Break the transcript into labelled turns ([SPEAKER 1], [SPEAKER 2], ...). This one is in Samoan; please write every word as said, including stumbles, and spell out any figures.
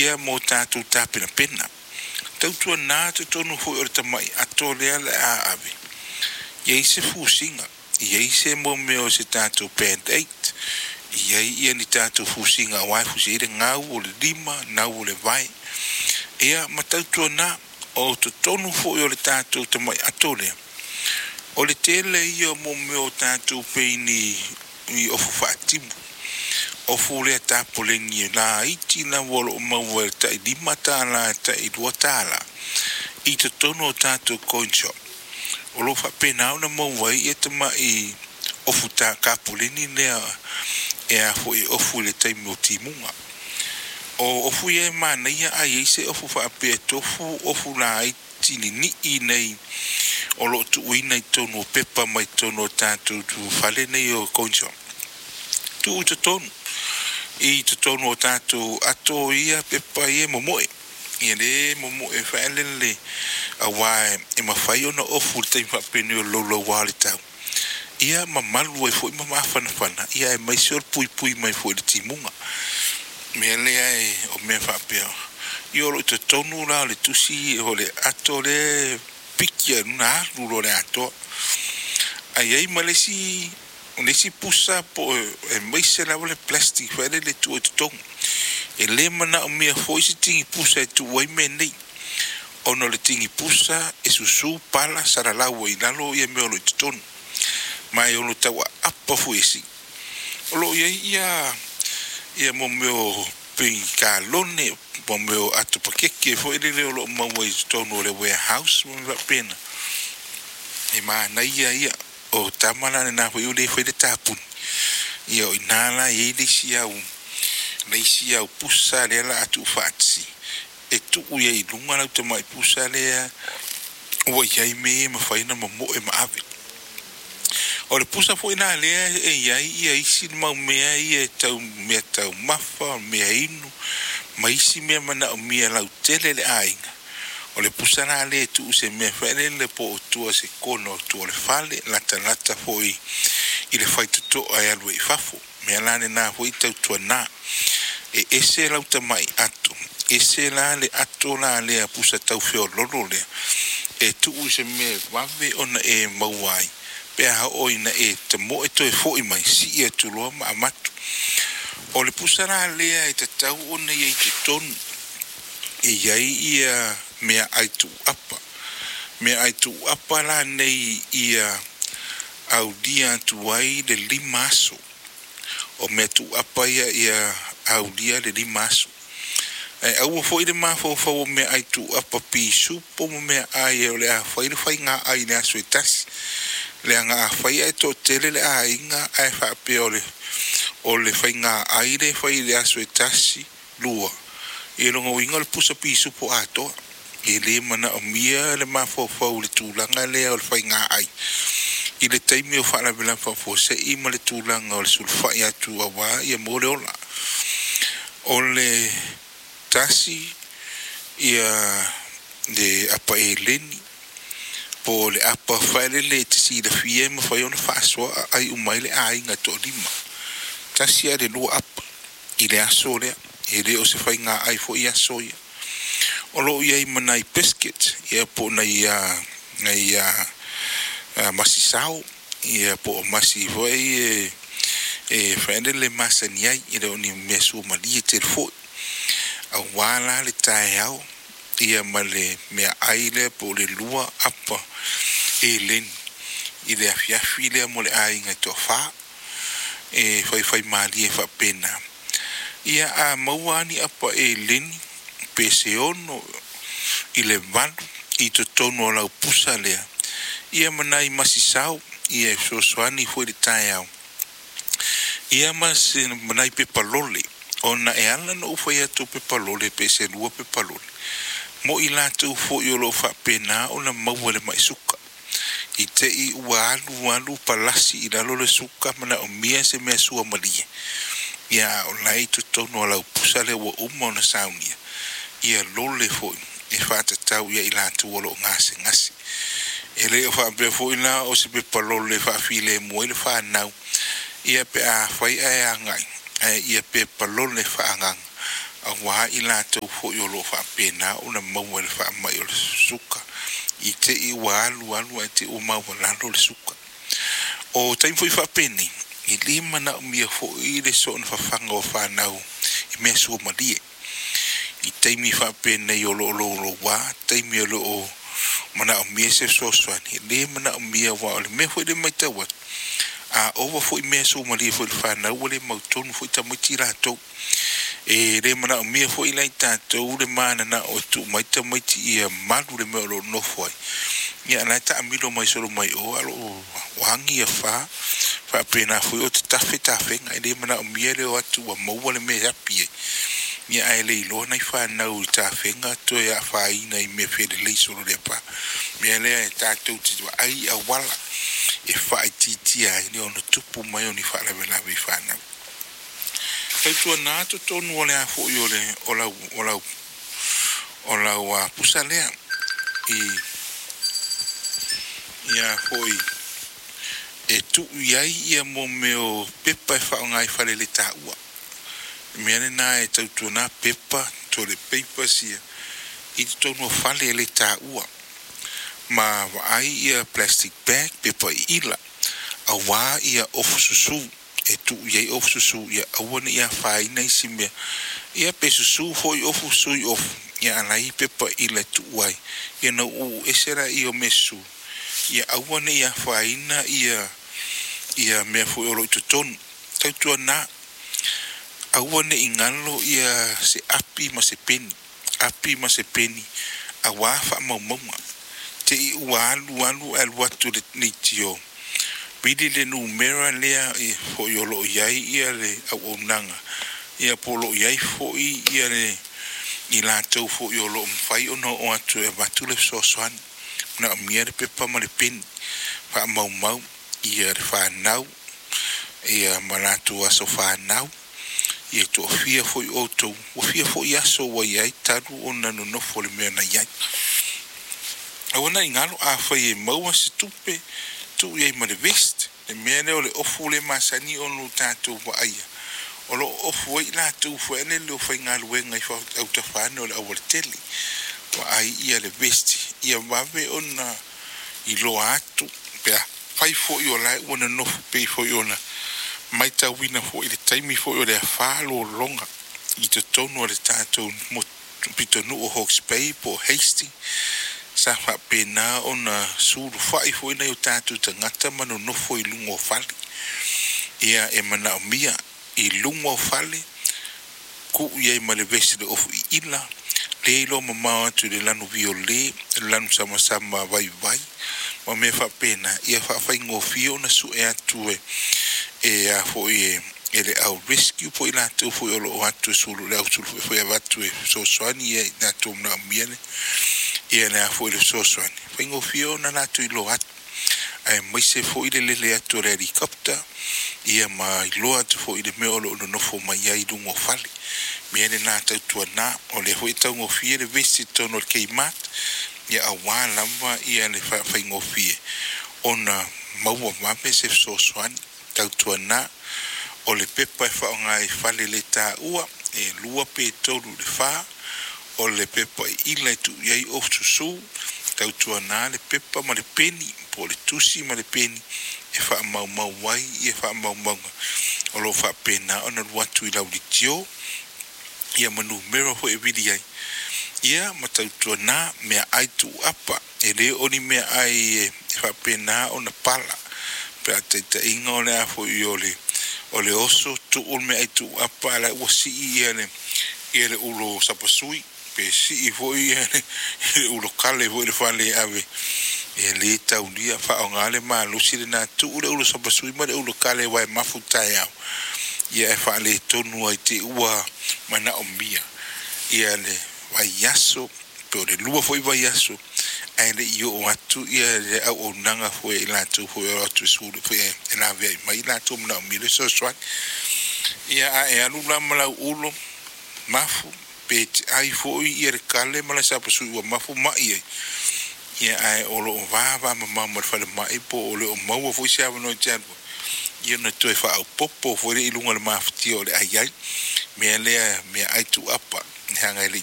[SPEAKER 1] Ia mo tatou tapenapena. Tautuana totonu foi o le tamai ato lea le a ave. Ia i se fusiga, ia i se mo mea o se tatou band-aid, ia i ia ni tatou fusiga auā e fusi ai le gau o le lima, nau o le vae. Ia ma tautuana o totonu foi o le tatou tamai ato lea. O le tele ia o mo mea o tatou pei ni ni ofu faatimu. Ofu lea tapoleni e laiti lava o loo maua e tai lima tala tai lua tala i totonu o tatou coin shop. O lo o faapena ona maua ai ia tamai ofu ta kapoleni lea e a foi ofu i le taimi o timuga. O ofu ia e manaia a i ai se ofu faapea e tofu ofu laiti ninii nei o loo tuuina i totonu o pepa mai totonu o tatou fale nei o coin shop. Tuu i totonu i totonu o tatou ato ia pepa ia momoe. Ia le momoe faalele auā e mafai ona ofu i le taimi faapenei o le loulou o le tau. Ia mamalu ai foi ma mafanafana ia aemaise o le puipui mai foi i le timuga. Mea lea e o mea faapea. Ia o loo i totonu la o le tusi o le ato lea piki ai i luga alu loa le atoa. Ae i ai ma le isi o le isi pusa po o aemaise lava le plastic foi lele e tuu i totonu. E le manaomia foi se tigi pusa e tuu ai mea nei, ona o le tigi pusa e susu pala salalau ai i lalo ia mea o lo o i totonu. Ma e ono tau aapa foi e sii. O loo i ai ia ia mo mea o pei kalone, mo mea o ato pakeke foi lele o loo maua i totonu o le warehouse ma mea faapena. E manaia ia o tama la lena foi ua le faia le tapuni. Ia o ina la e i ai le isi au le isi au pusa lea o le a tuufaatasi e tuu ai i luga lau tamai pusa lea ua i ai mea ia e mafai ona momoe ma ave. O le pusa foi la lea e i ai ia isi mau mea ia e tau mea taumafa, mea inu ma isi mea manaomia lautele e le aiga. O le pusa la lea e tuu se mea foi lele po o tua i se kona o tua o le fale, latalata foi i le faitotoa e alu ai i fafo. Mea la lena foi tautuana e ese lau tamai ato, ese la le ato la lea pusa tau feololo lea e tuu i se mea e vave ona e maua ai pe a oo ina e tamoe toe foi mai, sii atu loa ma avatu. O le pusa la lea e tatau ona i ai i totonu e i ai ia meaai tuuapa. Meaai tuuapa la nei ia aulia atu ai le lima aso. O mea tuuapa ia ia aulia le lima aso. Ae aua foi le mafaufau o meaai tuuapa pisupo ma meaai o le a fai le faigaai i le aso e tasi. Leaga afai ae toatele le aiga ae faapea o le o le faigaai lea e fai i le aso e tasi, lua, ia lona uiga o le pusa pisupo atoa. E le manaomia le mafaufau i le tulaga lea o le faigaai i le taimi o faalavelave faafuasei ma le tulaga o le sulufai atu auā ia mo le ola. O le tasi ia le apa eleni po o le apa faelele e te silafia e mafai ona faasoa aai uma ai le aiga e toalima. Tasi lava i le lua apa i le aso lea. E le o se faigaai foi aso ia. O loo i ai ma nai biscuit ia po o nai nai masi sao ia po o masi foi e e faelele masani ai, e le o ni mea suamalie tele foi. Auā la le taeao ia ma le meaai lea po o le lua apa eleni i le afiafi lea mo le aiga e toafa e faifaimalie faapena. Ia a maua lava ni apa eleni pe se ono i le valu i totonu o lau pusa lea ia ma nai masisao ia e fesoasoani foi i le taeao ia ma se ma nai pepa lole ona e ala ona ou fai atu o pepa lole pe se lua pepa lole mo i latou foi o loo faapena ona maua le mai suka i te i ua alu alu palasi i lalo le suka manaomia se mea suamalie. Ia a o la e i totonu o lau pusa lea ua uma ona saunia ia lole foi e faatatau ia i latou o loo gasegase. E le o faapea foi la o se pepa lole e faafilemu ai le fanau ia pe afai ae agai ae ia pepa lole faaagaga Auā i latou foi o loo faapena ona maua i le faamai o le suka i te i ua alu alu ae te i ua maualalo le suka. O taimi foi faapenei e lē manaomia foi le soona fafaga o fanau i mea suamalie i taimi faapenei o loo louloua taimi o loo manaomia se fesoasoani. E lē manaomia aua o le mea foi lea matau atu, a ova foi mea suamalie foi i le fanau ua le mautonu foi tamaiti latou. E le manaomia foi la i tatou le mananao e tuu mai tamaiti ia malu le mea o loo nofo ai, ia la e taamilo mai solo mai o a o agi ia fa faapena foi o tatafe tafega. E le manaomia le o atu ua maua le mea e api ai, ia ae le iloa nai fanau i tafega toe afaina i mea felelei solo le afa. Mea lea e tatou te vaai auala e faaitiitia ai le ono tupu mai o ni faalavelave i fanau. Tautuana totonu o le a foi o le o lau o lau o lau a pusa lea i ia foi e tuu i ai ia mo mea o pepa e faaaoga i fale le taua. Mea lena e tautuana pepa toilet papers ia i totonu o fale e le taua ma vaai ia plastic bag pepa iila auā ia ofu susū e tuu i ai ofu susū ia aua ne i afaina isi mea ia pe susū foi ofu sui ofu ia alai pepa ila e tuu ai ia na uu ese laia o mea susū ia aua ne i afaina ia ia mea foi o loo i totonu. Tautuana aua ne i galo ia se api ma se peni api ma se peni auā faamaumauga te i ua alu alu ae alu atu le leitio vili le numera lea e foi o loo i ai ia le auaunaga ia po o loo i ai foi ia le i latou foi o loo mafai ona oo atu e avatu le fesoasoani. Manaomia le pepa ma le peni faamaumau ia le fanau ia ma latou aso fanau ia toafia foi outou ua fia foi aso ua i ai talu ona nonofo le mea na i ai. Aua ne i galo afai e maua se tupe tuu i ai ma le vest le mea lea o le ofu le masani ona tatou vaaia o loo ofu ai latou foi lele o faigaluega i autafa ane o le aualatele. Vaai ia le vest ia vave ona iloa atu pe afai foi o la ua nonofo pei foi ona matauina foi i le taimi foi o le afa lologa i totonu o le tatou pitonuu o Hawke's Bay po o Hastings sa faapena ona sulufai foi nai o tatou tagata ma nonofo i luga o fale. Ia e manaomia i luga o fale tuu i ai ma le vesi le ofu iila le iloa mamao atu i le lanu viole le lanu samasama vaivai ma mea faapena ia faafaigofie ona sue atu e e a foi e e le au rescue po o i latou foi o loo atu e sulu le au sulu foi avatu e fesoasoani ia i latou manaomia le ia le a foi le fesoasoani faigofie ona latou iloa atu aemaise foi le lele atu o le helicopter ia ma iloa atu foi le mea o loo nonofo mai ai i luga o fale. Mea lena tautuana o lea foi e taugofie le vesi i totonu o le Kmart ia auā lava ia le faafaigofie ona maua vave se fesoasoani. Tautuana o le pepa e faaaoga i fale le taua e lua pe tolu i le fa o le pepa iila e tuu i ai ofu susū. Tautuana le pepa ma le peni po o le tusi ma le peni e faamaumau ai ia faamaumauga o loo faapena ona alu atu i lau leitio ia ma numera foi e vili ai ia ma tautuana meaai tuuapa. E le o ni meaai e faapena ona pala pe a taitaiga o le a foi o le o le oso tuu le meaai tuuapa a la ua sii ia le ia le ulo sapasui pe sii foi ia le ulo kale foi le fale e ave e le taulia faaaoga le malosi lena tuu le ulo sapasui ma le ulo kale aua e mafu taeao ia e faaletonu ai te ua manaomia ia le vaiaso pe o le lua foi vaiaso ae le i oo atu ia le auaunaga foi i latou foi o atu e sulu foi e laveai mai latou manaomia le fesoasoani. Ia a e alu la ma lau ulo mafu pe te ai foi ia le kale ma le sapasui ua mafu mai ai ia ae o loo vava mamao ma le falemai po o le o maua foi se avanoa e te alu Ia ona toe faaopopo foi lea i luga o le mafatia o le ai ai mea lea, meaai tuuapa leaga e le i